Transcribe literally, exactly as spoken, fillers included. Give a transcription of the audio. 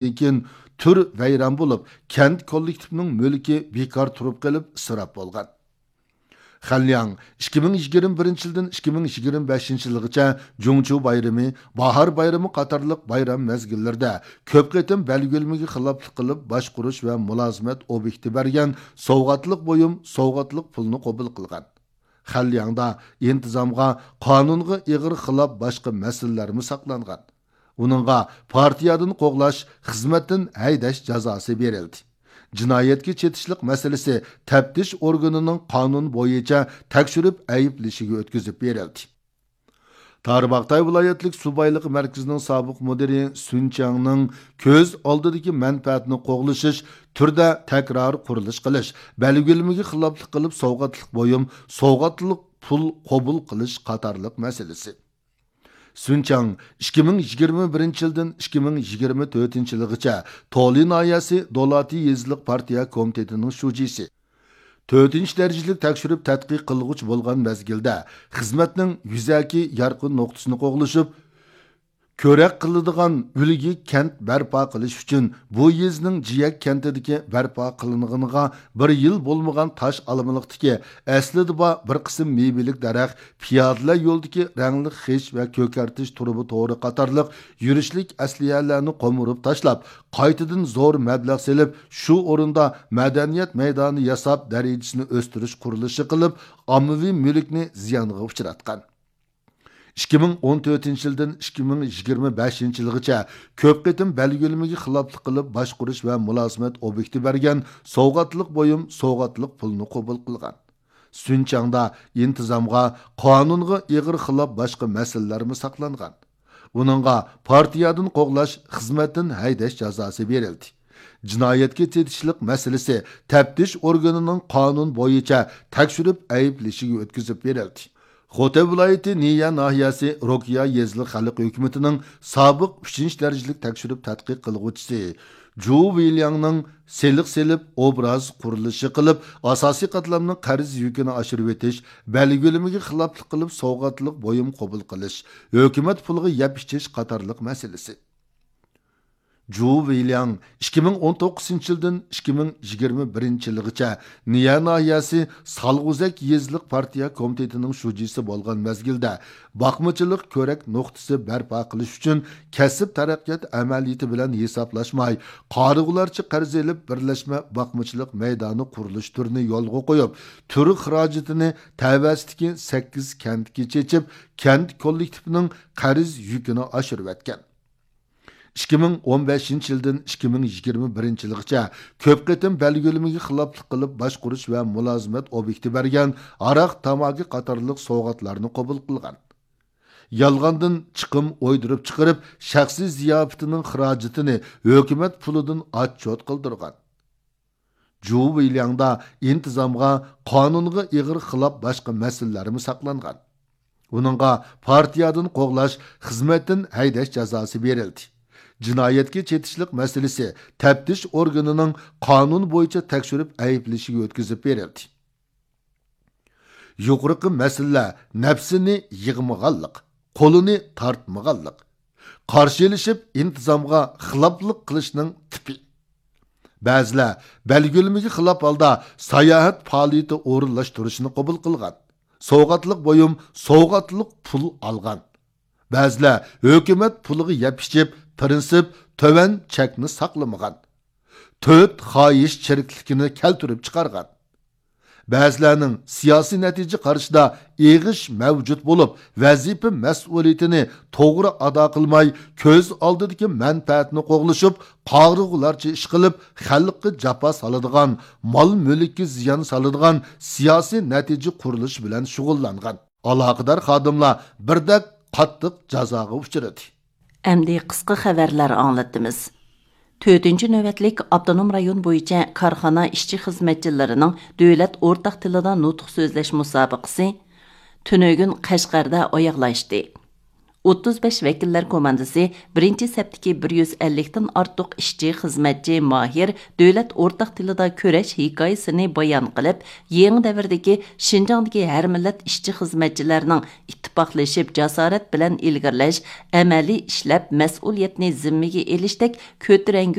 كېيىن تۈر ۋەيران بولۇپ، كەنت كوللېكتىپىنىڭ مۈلكى بىكار تۇرۇپ قېلىپ ئىسراپ بولغان. خەنلياڭ ئىككى مىڭ يىگىرمە بىرىنچى يىلدىن ئىككى مىڭ يىگىرمە بەشىنچى يىلغىچە جۇڭچۇ بايرىمى، باھار بايرىمى قاتارلىق بايرام مەزگىللىرىدە كۆپ قېتىم بەلگىلىمىگە خىلاپلىق قىلىپ باشقۇرۇش ۋە مۇلازىمەت ئوبيېكتى بەرگەن سوۋغاتلىق بۇيۇم، سوۋغاتلىق پۇلنى قوبۇل قىلغان. خەنلياڭدا ئىنتىزامغا، قانۇنغا ئېغىر خىلاپ باشقا مەسىلىلەرمۇ ساقلانغان. ئۇنىڭغا پارتىيەدىن قوغلاش، خىزمەتتىن ھەيدەش جازاسى بېرىلدى. جىنايەتكە چېتىشلىق مەسىلىسى تەپتىش ئورگىنىنىڭ قانۇن بويىچە تەكشۈرۈپ ئەيىبلىشىگە ئۆتكۈزۈپ بېرىلدى. تارباغاتاي ۋىلايەتلىك سۇ بايلىقى مەركىزىنىڭ سابىق مۇدىرى سۈن چياڭنىڭ كۆز ئالدىدىكى مەنپەئەتنى قوغلىشىش، تۈردە تەكرار قۇرۇلۇش قىلىش، بەلگىلىمىگە خىلاپلىق قىلىپ سوۋغاتلىق بۇيۇم، سوۋغاتلىق پۇل قوبۇل قىلىش قاتارلىق مەسىلىسى. سۈن چياڭ ئىككى مىڭ يىگىرمە بىرىنچى يىلدىن ئىككى مىڭ يىگىرمە تۆتىنچى يىلىغىچە تولى ناھىيەسى دولاتى يېزىلىق پارتىيە كومىتېتىنىڭ شۇجىسى، تۆتىنچى دەرىجىلىك تەكشۈرۈپ تەتقىق قىلغۇچى بولغان مەزگىلدە خىزمەتنىڭ يۈزەكى يارقىن نۇقتىسىنى قوغلىشىپ، كۆرەك قىلىدىغان ئۈلگە كەنت بەرپا قىلىش ئۈچۈن بۇ يېزىنىڭ جىيەك كەنتىدىكى بەرپا قىلىنغىنىغا بىر يىل بولمىغان تاش ئالمىلىقتىكى ئەسلىدە بار بىر قىسىم مېۋىلىك دەرەخ، پىيادىلەر يولىدىكى رەڭلىك خىش ۋە كۆكەرتىش تۇرۇبا تورى قاتارلىق يۈرۈشلۈك ئەسلىھەلەرنى قومۇرۇپ تاشلاپ، قايتىدىن زور مەبلەغ سېلىپ، شۇ ئورۇندا مەدەنىيەت مەيدانى ياساپ، دەرىجىسىنى ئۆستۈرۈش قۇرۇلۇشى قىلىپ، ئاممىۋى مۈلۈكنى زىيانغا ئۇچراتقان. ئىككى مىڭ ئون تۆتىنچى يىلدىن ئىككى مىڭ يىگىرمە بەشىنچى يىلغىچە كۆپ قېتىم بەلگىلىمىگە خىلاپلىق قىلىپ باشقۇرۇش ۋە مۇلازىمەت ئوبيېكتى بەرگەن سوۋغاتلىق بۇيۇم، سوۋغاتلىق پۇلنى قوبۇل قىلغان. سۈن چياڭدا ئىنتىزامغا، قانۇنغا ئېغىر خىلاپ باشقا مەسىلىلەرمۇ ساقلانغان. ئۇنىڭغا پارتىيەدىن قوغلاش، خىزمەتتىن ھەيدەش جازاسى بېرىلدى. جىنايەتكە چېتىشلىق مەسىلىسى تەپتىش ئورگىنىنىڭ قانۇن بويىچە تەكشۈرۈپ ئەيىبلىشىگە ئۆتكۈزۈپ بېرىلدى. خوتەن ۋىلايىتى نىيە ناھىيەسى روكىيا يېزىلىق خەلق ھۆكۈمىتىنىڭ سابىق ئۈچىنچى دەرىجىلىك تەكشۈرۈپ تەتقىق قىلغۇچىسى جۇ ۋېيلياڭنىڭ سېلىق سېلىپ، ئوبراز قۇرۇلۇشى قىلىپ، ئاساسىي قاتلامنىڭ قەرز يۈكىنى ئاشۇرۇۋېتىش، بەلگىلىمىگە خىلاپلىق قىلىپ سوۋغاتلىق بۇيۇم قوبۇل قىلىش، ھۆكۈمەت پۇلىغا يەپ ئىچىش قاتارلىق مەسىلىسى. جۇ ۋېيلياڭ ئىككى مىڭ ئون توققۇزىنچى يىلدىن ئىككى مىڭ يىگىرمە بىرىنچى يىلغىچە نىيە ناھىيەسى سالغۇزەك يېزىلىق پارتىيە كومىتېتىنىڭ شۇجىسى بولغان مەزگىلدە باقمىچىلىق كۆرەك نۇقتىسى بەرپا قىلىش ئۈچۈن كەسىپ تەرەققىيات ئەمەلىيىتى بىلەن ھېسابلاشماي، قارىغۇلارچە قەرز ئېلىپ، بىرلەشمە باقمىچىلىق مەيدانى قۇرۇلۇش تۈرىنى يولغا قويۇپ، تۈر خىراجىتىنى تەۋەسىدىكى سەككىز كەنتكە چېچىپ، كەنت كوللېكتىپىنىڭ قەرز يۈكىنى ئاشۇرۇۋەتكەن. ئىككى مىڭ ئون بەشىنچى يىلدىن ئىككى مىڭ يىگىرمە بىرىنچى يىلغىچە كۆپ قېتىم بەلگىلىمىگە خىلاپلىق قىلىپ باشقۇرۇش ۋە مۇلازىمەت ئوبيېكتى بەرگەن ھاراق، تاماكا قاتارلىق سوۋغاتلارنى قوبۇل قىلغان. يالغاندىن چىقىم ئويدۇرۇپ چىقىرىپ، شەخسىي زىياپىتىنىڭ خىراجىتىنى ھۆكۈمەت پۇلىدىن ئاتچوت قىلدۇرغان. جۇ ۋېيلياڭدا ئىنتىزامغا، قانۇنغا ئېغىر خىلاپ باشقا مەسىلىلەرمۇ ساقلانغان. ئۇنىڭغا پارتىيەدىن قوغلاش، خىزمەتتىن ھەيدەش جازاسى بېرىلدى. جىنايەتكە چېتىشلىق مەسىلىسى تەپتىش ئورگىنىنىڭ قانۇن بويىچە تەكشۈرۈپ ئەيىبلىشىگە ئۆتكۈزۈپ بېرىلدى. يۇقىرىقى مەسىلىلەر نەپسىنى يىغمىغانلىق، قولىنى تارتمىغانلىق، قارشى ئېلىشىپ ئىنتىزامغا خىلاپلىق قىلىشنىڭ تىپى. بەزىلەر بەلگىلىمىگە خىلاپ ھالدا ساياھەت پائالىيىتى ئورۇنلاشتۇرۇشنى قوبۇل قىلغان. سوۋغاتلىق بۇيۇم، سوۋغاتلىق پۇل ئالغان. بەزىلەر ھۆكۈمەت پۇلىغا يەپ ئىچىپ، پىرىنسىپ تۆۋەن چەكنى ساقلىمىغان. تۆت خاھىش چىرىكلىكىنى كەلتۈرۈپ چىقارغان. بەزىلەرنىڭ سىياسىي نەتىجە قارىشىدا ئېغىش مەۋجۇت بولۇپ، ۋەزىپە مەسئۇلىيىتىنى توغرا ئادا قىلماي، كۆز ئالدىدىكى مەنپەئەتنى قوغلىشىپ، قارىغۇلارچە ئىش قىلىپ، خەلققە جاپا سالىدىغان، مال-مۈلۈككە زىيان سالىدىغان سىياسىي نەتىجە قۇرۇلۇشى بىلەن شۇغۇللانغان ئالاقىدار خادىملار بىردەك قاتتىق جازاغا ئۇچرىدى. ئەمدى قىسقا خەۋەرلەر ئاڭلىتىمىز. تۆتىنچى نۆۋەتلىك ئاپتونوم رايون بويىچە كارخانا ئىشچى-خىزمەتچىلىرىنىڭ دۆلەت ئورتاق تىلىدا نۇتۇق سۆزلەش مۇسابىقىسى تۈنۈگۈن قەشقەردە ئاياغلاشتى. ئوتتۇز بەش ۋەكىللەر كوماندىسى بىرىنچى سەپتىكى بىر يۈز ئەللىكتىن ئارتۇق ئىشچى، خىزمەتچى ماھىر دۆلەت ئورتاق تىلىدا كۈرەش ھېكايىسىنى بايان قىلىپ، يېڭى دەۋردىكى شىنجاڭدىكى ھەر مىللەت ئىشچى، خىزمەتچىلەرنىڭ ئىتتىپاقلىشىپ، جاسارەت بىلەن ئىلگىرىلەش، ئەمەلىي ئىشلەپ، مەسئۇلىيەتنى زىممىگە ئېلىشتەك كۆتۈرەڭگۈ